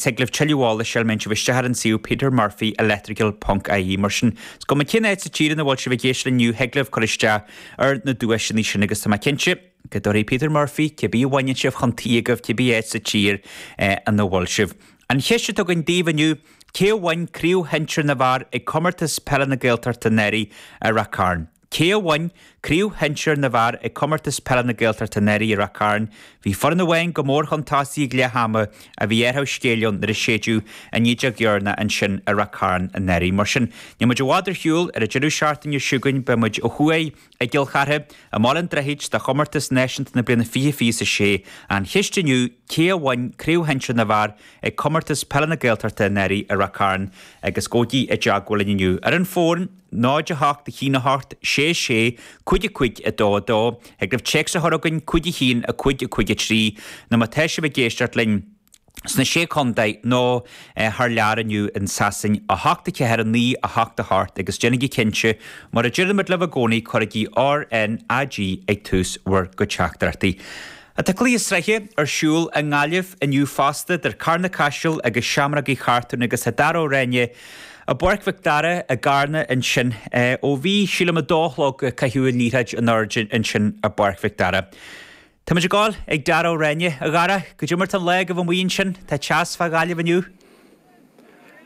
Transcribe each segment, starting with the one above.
Thig libh tuilleadh eolais a fháil má théann sibh isteach ar an suíomh petermurphyelectrical ponc ie. Mar sin, is cuma cén áit sa tír ina bhfuil sibh ag éisteacht linn inniu, thig libh cur isteach ar na duaiseanna sin agus tá mé cinnte go dtabharfaidh Peter Murphy cibé a bhaineann sibh chun tí agaibh, cibé áit sa tír ina bhfuil sibh. An cheist atá againn daoibh inniu, cé a bhain Craobh Shinsir na bhFear ag Comórtas Peile na Gaeltachta anuraidh i Rath Cairn? Cé a bhain Craobh Shinsir na bhFear ag Comórtas Peile na Gaeltachta anuraidh i Rath Cairn? Bhí foireann amháin go mór chun tosaigh ag leath ama a bhí athrú scéil ann nuair a séideadh an fhídeog dheireanach ansin i Rath Cairn anuraidh. Mar sin, níl muid i bhfad ar shiúl, ar an deireadh seachtaine seo chugainn beidh muid ó thuaidh i gCill Chartha, i mBaile an Droichid, do Chomórtas Náisiúnta na bliana 2026. An cheist inniu, cé a bhain Craobh Shinsir na bhFear ag Comórtas Peile na Gaeltachta anuraidh i Rath Cairn? Agus gabhaigí i dteagmháil linn inniu ar an bhfón. 0 8 1 8 6 6 5 5 2 2. Thig libh téacs a chur chugainn 5 1 5 5 3 nó má tá sibh ag éisteacht linn sna Sé Chontae nó thar lear inniu in Sasain 8 4 9 8 8 agus déanaigí cinnte, mar a deirimid libh i gcónaí, cuirigí RnaG ag tús bhur gcuid teachtaireachtaí. Tá cluiche sraithe ar siúl i nGaillimh inniu fosta idir Carna Caiseal agus Seamrógaí Chartúin agus tá Dara Ó Ráinne i bPáirc Mhic Dara i gCarna ansin ó bhí, sílim, 2 a chlog caitheadh an liathróid in airde ansin i bPáirc Mhic Dara. Tá muid ag gabháil ag Dara Ó Ráinne. A Dhara, goidé mar tá an lá agaibh amuigh ansin? Tá teas fá Ghaillimh inniu?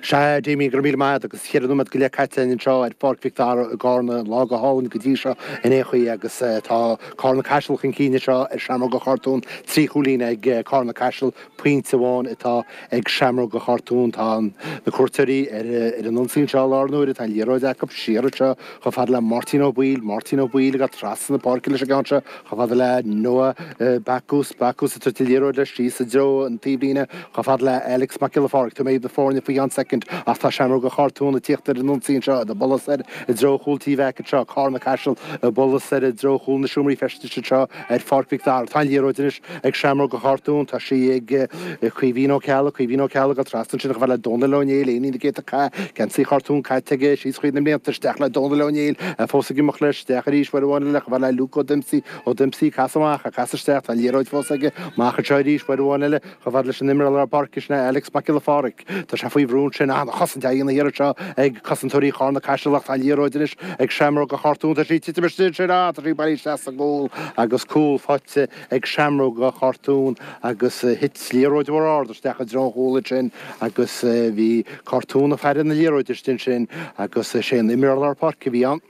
Sea, a Damien, go raibh míle maith agat agus cheithre nóiméad go leith caite againn anseo ar Pháirc Mhic Dara i gCarna, an lá go hálainn go dtí seo in aon chaoi agus tá Carna Caiseal chun cinn anseo ar Seamróga Chartún, trí chúilín ag Carna Caiseal, pointe amháin atá ag Seamróga Chartún. Tá na cuairteoirí ar an ionsaí anseo i láthair na huaire, tá an liathróid acu siar anseo chomh fada le Máirtín Ó Baoill, Máirtín Ó Baoill ag dul trasna na páirce leis an gceann seo chomh fada le Noah Backus, Backus ag tabhairt an liathróid leis síos i dtreo an taobhlíne chomh fada le Alex Mac Giolla Phádraig. Tabharfaidh mé iad na foirne faoi cheann soicind ach tá Seamróga Chartún ag tíocht ar an ionsaí anseo, ag bualadh soir i dtreo chúl Tí Mheaic anseo, Carna Caiseal ag bualadh soir i dtreo chúl na seomraí feistis anseo ar Pháirc Mhic Dara. Tá an liathróid anois ag Seamróga Chartún, tá sí ag Caoimhín Ó Ceallaigh, Caoimhín Ó Ceallaigh ag dul trasna ansin chomh fada le Dónal Ó Néill, éinín na gcéadta cath, geansaí Chartún caite aige síos thríd na mblianta, isteach le Dónal Ó Néill, fós ag imeacht leis, isteach arís uair amháin eile chomh fada le Luke Ó Dempsey, Ó Dempsey ag casadh amach, ag casadh isteach, tá an liathróid fós aige, amach anseo arís uair amháin eile, chomh fada leis an imreoir lár páirce sin é Alex Mac Giolla Phádraig. Tá sé faoi bhrú ansin, an-chosaint á dhéanamh thiar anseo ag cosantóirí Charna Caiseal ach tá an liathróid anois ag Seamróga Chartún. Tá sí ag titim istigh ansin, ah, tá sí bailithe isteach sa gcúl agus cúl faighte ag Seamróga Chartún agus thit liathróid mhór ard isteach i dtreo an chúil ansin agus bhí Cartún ag faire na liathróide istigh ansin agus is é an imreoir lár páirce a bhí ann.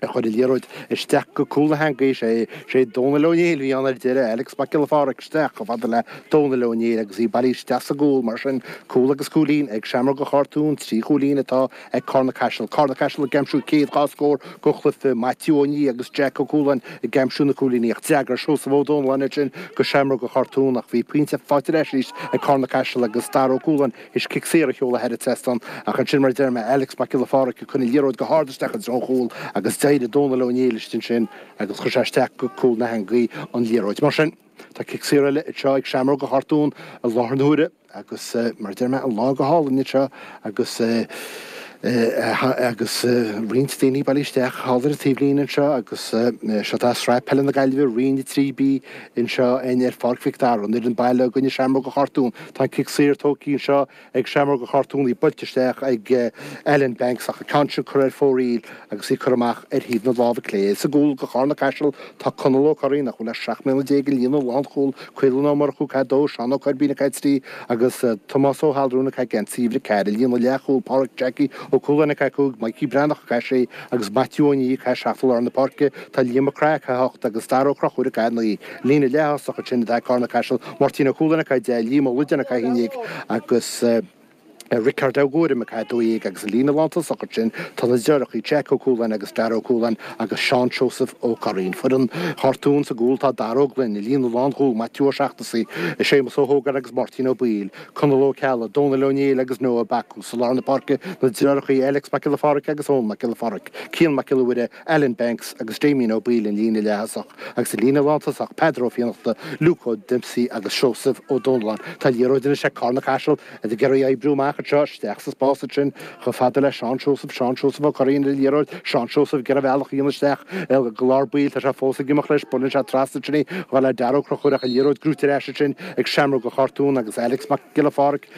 a chuir an liathróid isteach go cúl na heangaí. Is é Dónal Ó Néill a bhí ann ar deireadh, Alex Mac Giolla Phádraig isteach chomh fada le Dónal Ó Néill agus í bailithe isteach sa gcúl. Mar sin, cúl agus cúilín ag Seamróga Chartún, 3 chúilín atá ag Carna Caiseal. Carna Caiseal ag aimsiú céad dhá scór den chluiche, Maitiú Ó Nia agus Jack Ó Cualáin ag aimsiú na cúilíní ach d'fhreagair Seosamh Ó Domhnalláin ansin go Seamróga Chartún ach bhí pointe faighte ar ais arís ag Carna Caiseal agus Dara Ó Cualáin Is cic saor a sheoladh thar an trasnán ach ansin, mar a deir mé, Alex Mac Giolla Phádraig ag cur an liathróid go hard isteach i dtreo an chúil agus d'éirigh Dónal Ó Néill istigh ansin agus chuir sé isteach go cúl na heangaí an liathróid. Mar sin, tá cic saor eile anseo ag Seamróga Chartún i láthair na huaire agus, mar a deir mé, an lá go hálainn anseo agus agus roinnt daoine bailithe isteach thall ar an taobhlíne anseo agus seo tá Sraith Peile na Gaillimhe, Roinn 3B anseo ar Pháirc Mhic Dara, an fhoireann baile i gcoinne Seamróga Chartún. Tá an cic saor tógtha anseo ag Seamróga Chartún, í buailte isteach ag Alan Banks ach an ceann sin curtha ar fóraoil agus í curtha amach ar thaobh na láimhe clé. Sa gcúl do Charna Caiseal tá Conall Ó Curraoin, nach bhfuil ach 17 mbliana i líne lánchúl, Caolán Ó Murchú ag caitheamh 2, Seán Ó Coirbín ag caitheamh 3 agus Tomás Ó hAllrúin ag caitheamh geansaí uimhir 4. I líne leathchúl, Páraic Jackie Ó Cualáin ag caitheamh 5, Mikey Breathnach ag caitheamh 6 agus Maitiú Ó Nia ag caitheamh 7 i lár na páirce. Tá Liam Mac Craith ag caitheamh 8 agus Dara Ó Conchúir ag caitheamh 9. Líne leath-thosach ansin atá ag Carna Caiseal, Máirtín Ó Cualáin ag caitheamh 10, Liam Ó Loideáin ag caitheamh 11 agus Riocard Ó Guairim ag caitheamh 12 agus i líne lántosach ansin tá na deartháireacha Jack Ó Cualáin agus Dara Ó Cualáin agus Seán Seosamh Ó Curraoin. Foireann Chartún sa gcúl tá Dara Ó Gloinn, i líne lánchúl Maitiú Ó Seachnasaigh, Séamus Ó hÓgáin agus Máirtín Ó Baoill, Conall Ó Ceallaigh, Dónal Ó Néill agus Noah Backus. I lár na páirce na deartháireacha Alex Mac Giolla Phádraig agus Eoin Mac Giolla Phádraig, Cian Mac Giolla Mhuire, Alan Banks agus Damien Ó Baoill an líne leath-thosach agus i líne lántosach Peadar Ó Fiannachta, Luke Ó Dempsey agus Seosamh Ó Domhnalláin. Tá liathróid anois ag Carna Caiseal ag iarraidh oibriú amach. anseo, isteach sa spás ansin chomh fada le Seán Seosamh, Seán Seosamh Ó Curraoin ar an liathróid, Seán Seosamh ag iarraidh a bhealach a dhéanamh isteach go lár baill, tá sé fós ag imeacht leis, buaileann sé trasna ansin í chomh fada le Darragh Ó Conchúir ach an liathróid gnóite ar ais ansin ag Seamróga Chartún agus Alex Mac Giolla Phádraig.